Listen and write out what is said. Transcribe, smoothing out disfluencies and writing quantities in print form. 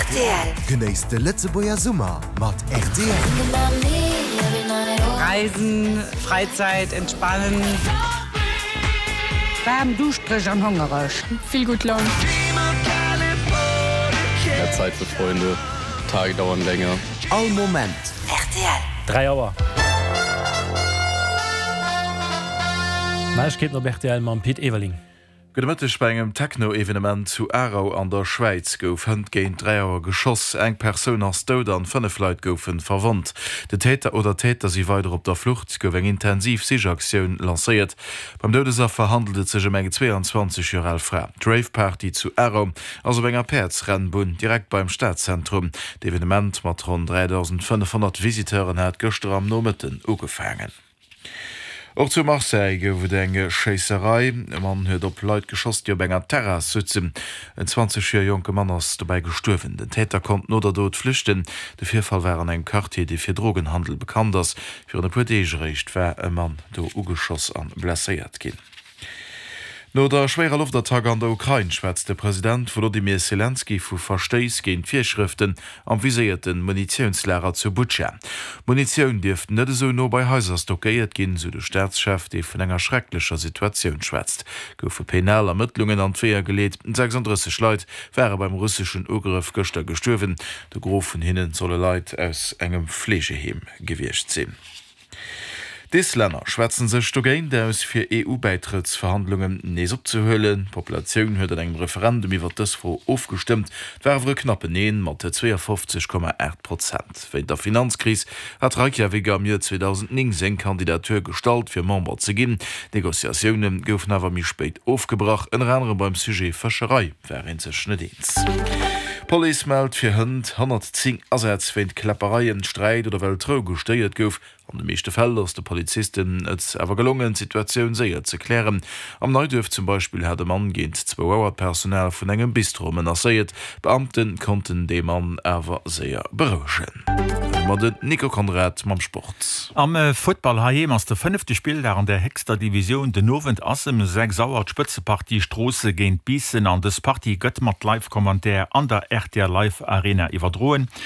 Rtl. Genéisst de Lëtzebuerger Summer mat rtl. Reisen, Freizeit, entspannen. Waarm, duuschtereg an hongereg. Vill gutt Laun. Mehr Zeit für Freunde, Tage dauern länger. All Moment. Rtl. 3 Auer. Neiegkeeten op rtl mam Pit Everling. Gudde Mëtteg, Bei engem Techno-Evenement zu Aarau an der Schwäiz gouf hënt géint 3 Auer geschoss. Eng Persoun ass dout an 5 Leit goufe verwonnt. Den Täter oder d'Täter si weider op der Flucht. Gouf eng intensiv Sichaktioun lancéiert. Beim Doudesaffer handelt et sech ëm eng 22 Joer al Fra. D'Rave-Party zu Aarau ass op enger Päerdsrennbunn direkt beim Stadzentrum. D'Evenement mat ronn 3.500 Visiteuren hat gëschter am Nomëtten ugefaangen. Och zu Marseille gouf et eng Schéisserei. E Mann huet op Leit geschoss, déi op enger Terrass sutzen. En 20 Joer jonke Mann ass dobäi gestuerwen. Den Täter konnt no der Dot flüchten. De Virfall war an engem Quartier, dee fir Drogenhandel bekannt ass. Virun e puer Deeg eréischt war e Mann do ugeschoss an blesséiert ginn. No der schwéierer Loftattack an der Ukrain schwätzt de President Wolodymyr Selenskyj vu Verstéiss géint d'Virschrëften am viséierte Munitiounslager zu Butscha. Munitioun dierft net esou no bei Haiser stockéiert ginn, sou de Staatschef, dee vun enger schrecklecher Situatioun schwätzt. Goufe penal Ermëttlungen an d'Weeër geleet. 36 Leit ware beim russeschen Ugrëff gëschter gestuerwen. De Gros vun hinne solle Leit aus engem Fleegeheem gewiescht sinn. D'Islänner schwätzen sech dogéint aus, fir EU-Bäitrëttsverhandlungen nees opzehuelen. D'Populatioun huet an engem Referendum iwwer dës Fro ofgestëmmt. Et war awer e knappen Neen mat 52,8 Prozent. Wéint der Finanzkris hat Reykjavik am Joer 2009 seng Kandidatur gestallt, fir Member ze ginn. D'Negociatioune goufen awer méi spéit ofgebrach, ënner anerem beim Sujet Fëscherei war ee sech net eens. D'Police mellt fir hënt 110 Asätz wéint Kläppereien, Sträit oder well d'Rou gestéiert gouf. An de meeschte Fäll ass de Polizisten et awer gelongen, d'Situatioun séier ze klären. Am Neiduerf zum Beispill hat e Mann géint zwou Auer d'Personal vun engem Bistro menacéiert. D'Beamte konnten dee Mann awer séier berouegen. Domat den Nico Conrad mam Sport. Am Futtball heiheem ass de fënnefte Spilldag an der héchster Divisioun. Den Owend ass ëm 6 Auer d'Spëtzepartie Stroosse géint Biissen an dës Partie gëtt mat Live-Commentaire an der rtl Live Arena iwwerdroen.